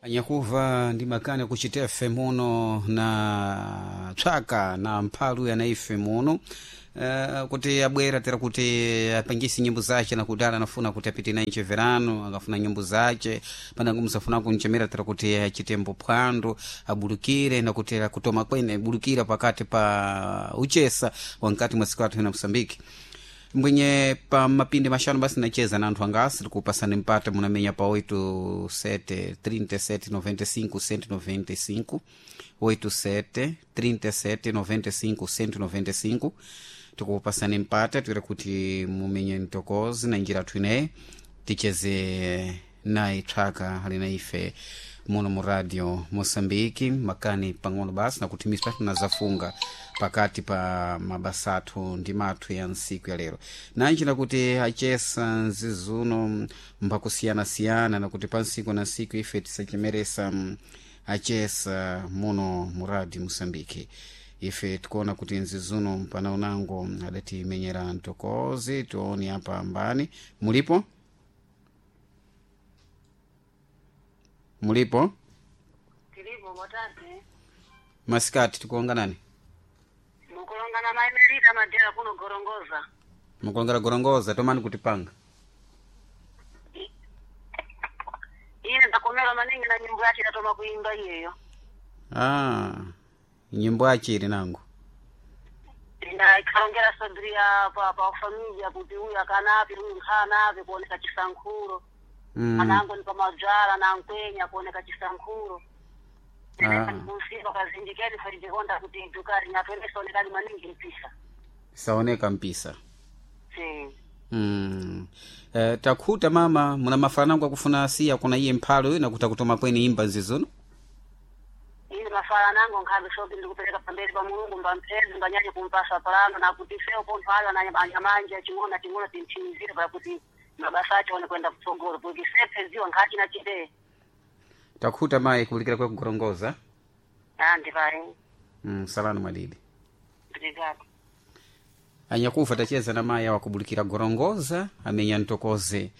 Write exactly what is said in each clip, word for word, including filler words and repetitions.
Anyakuva ndi makani akuchitefe muno na tswaka na mphalu yanaife muno uh, kuti abwera tera kuti apangise nyimbo zace nakudala anafuna kuti apite naye ncheverano akafuna nyimbo zace panango musafuna kunchemera tera kuti achitembo phwando abulukire nakuti kutoma kwene abulukira pakati pa uchesa wankati mwa siku athu na Mosambiki mbwenye pa mapindi maxanu basi nacheza na anthu angasi tikupasani mpata munamenya pa oito sete trinta e sete noventa e cinco cento e noventa e cinco oito sete trinta e sete noventa e cinco cento e noventa e cinco tikupasani mpata tira kuti mumenye mtokozi na njira athu ineyi ticheze naye tswaka ali na ife muno mu radio Moçambique makani pang'ono basi nakuti misa tinazafunga pakati pa mabasa athu ndi mathu ya ntsiku ya lero nanji nakuti achesa nzizuno mbakusiyanasiyana nakuti pa ntsiku na ntsiku ife tisachemeresa mm, achesa muno mu radio Moçambique ife tikuona kuti nzizuno mpana unango adatimenyera mtokozi tione apa mbani mulipo mulipo Tilipo motate masikati tikuonga nani mukulongana maimerita madera kuno gorongoza mukulongera gorongoza tomani kutipanga ine ndakomera maningi na nyimbo yacho idatoma kuimba iyeyo ah, nyimbo achiri nangu ina ikalongera sodria pa pa familia kuti uyu akanapi uyu nkhanapi kuoneka chisankhulo mm. anango ni pamadzala na nkwenya kuoneka chisankhulo Ah. kusipa kazindikeni ferijikonda kuti dukari nyatwenesaonekani maningi mpisa saoneka mpisa si mm. eh, takhuta mama muna mafanango akufuna asiya kuna iye mphalo nakuti akutoma kweni imba nzizuno ine mafala nango nkhabe sopi ndikupereka pamberi pa mulungu mbamphezi mbanyanye kumpasa palano nakuti ifeyo pontho ayo anyamanje ching'ono ching'ono timthinizire pakuti mabasa acho one kwenda kutsogolo kuti sepheziwa nkhati nachite takhuta mayi kulikira kwe kugorongoza andi payi mm, salano mwadidi obrigado anyakufa tacheza na mayi awakubulikira gorongoza amenya ntokoze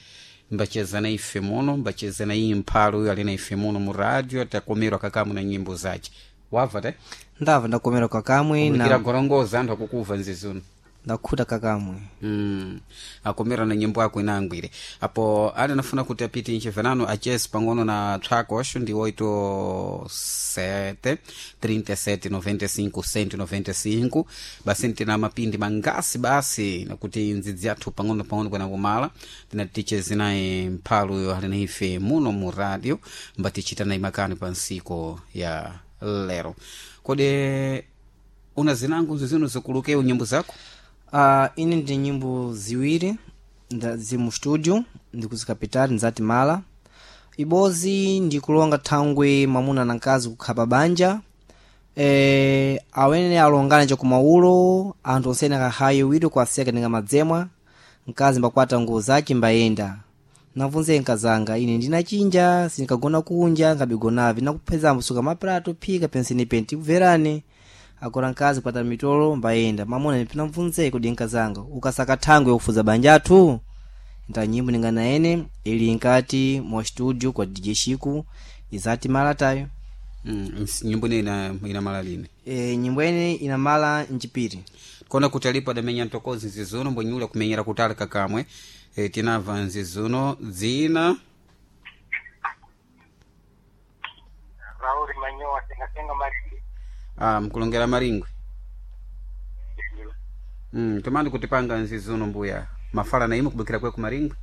mbacheza na ife muno mbacheza na iye mphalo uyo ali na ife muno mu radio takomerwa kakamu na nyimbo zace wabva te ndabva ndakomera kakamwe kubulikira na gorongoza anthu akukuva nzizuno ndakhuta kakamwe mm. akomera na nyimbo yako inangwire apo ali anafuna kuti apite nchevenano achese pang'ono na tswako ndi oito sete trinta e sete noventa e cinco cento e noventa e cinco basi tina mapindi mangasi basi nakuti ndzidzi athu pang'ono pang'ono kwena kumala tinati ticheze naye mphalo uyo ali na ife muno mu radio mbatichita naye makani pa nsiku ya lero kodi una zinango zizino zikulukeu nyimbo zako uh, ine ndi nyimbo ziwiri nda- zili mu studio ndikuzikapitali nzati mala ibozi ndikulonga thangwe mwamuna na mkazi kukhala banja e, awene alongana chakumaulo anthu onsene akakhaye wito kwaseka ninga madzemwa mkazi mbakwata nguwo zace mbayenda navunze nkazanga ine ndinachinja sinkagona kunja nkabigonavi nakuphezambo suka maprato phika penseni penti kubverane agora mkazi kwata mitolo mbayenda mamuna ndipinamvunze kodi nkazanga ukasaka thangwe yokufuza banja athu nta nyimbo ninganaene ili nkati mwa studio kwa D J Shiku izati malatayo Mm, ns- nyimbo ine ina, ina mala lini e, nyimbo ene inamala mchipiri kona kuti alipo adamenya ntokozi nzizuno mbwenyula kumenyera kutali kakamwe e, tinamva nzizuno dzina Raul Manyowa sengasenga Maringwe. ah, mkulongera maringwe mm, tomani kutipanga nzizuno mbuya mafala na imo kubukira kwe kumaringwe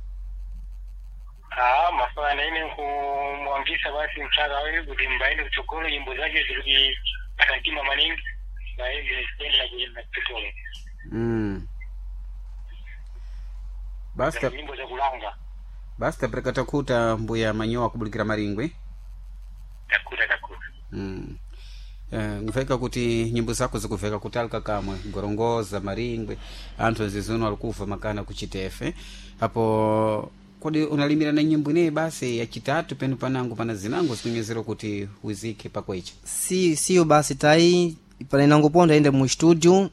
Ah, mafala na ine kumwangisa basi mchaka wewe kuti mbaende kuchokolo nyimbo zake zikuti asantima maningi baende kwenda na kuenda kuchokolo mm. basi ta- nyimbo za kulanga basi tapereka takuta mbuya manyowa kubulikira maringwe takuta takuta mm. Eh, nguveka kuti nyimbo zako zikuveka kutali kakamwe gorongoza maringwe anthu nzizuno alikuva makana kuchitefe apo kodi unalimira na nyimbo ineyi basi yachitatu penu panango pana zinango zikunyezera kuti uzike pakwecha si siyo basi tayi pano inangoponda ende mu studio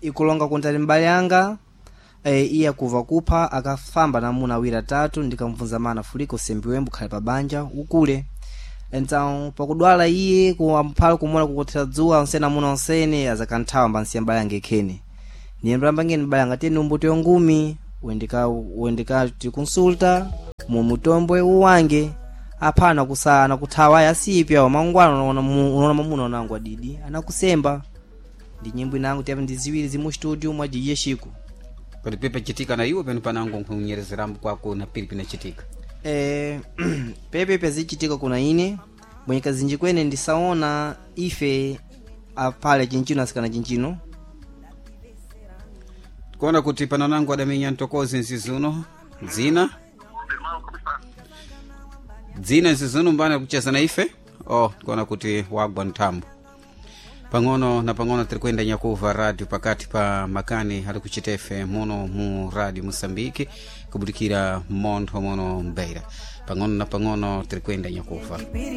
ikulonga kuntali mbali yanga e, iye akuva kupha akafamba namuna awiri atatu ndikamvunza mana fuliko sembi wembo khale pa banja ukule Então pakudwala iye kumphala kumona kukothera dzuwa onsene amuna onsene azakanthawa mbansiya mbale yange khene niye mbambangeni mbale anga tiyeni umbuti ngumi wendeka wendeka tikonsulta mu mutombwe uwange aphana kusa anakuthawa aya asipya mangwana unaona mu- unaona mamuna unangu adidi anakusemba ndi nyimbo inangu tiyapo ndi ziwiri zimu studio mwa D J Chico. Kodi pepe chitika na iwe pano panango nkunyerezeramu kwako na pili pinachitika? Eh, pepe pezichitika kuna ine bwenye kazinji kwene ndisaona ife apale chinchino asikana chinchino. Kuona kuti pano nangu adamenya ntokozi nzizuno dzina dzina nzizuno mbana kucheza na ife oh kuona kuti wagwa nthambo. Pang'ono na pang'ono tiri kuyenda nyakuva radio pakati pa makani ali kuchitefe muno mu Radio Moçambique kubudikira montho muno mbeira. Pang'ono na pang'ono tiri kuyenda nyakuva.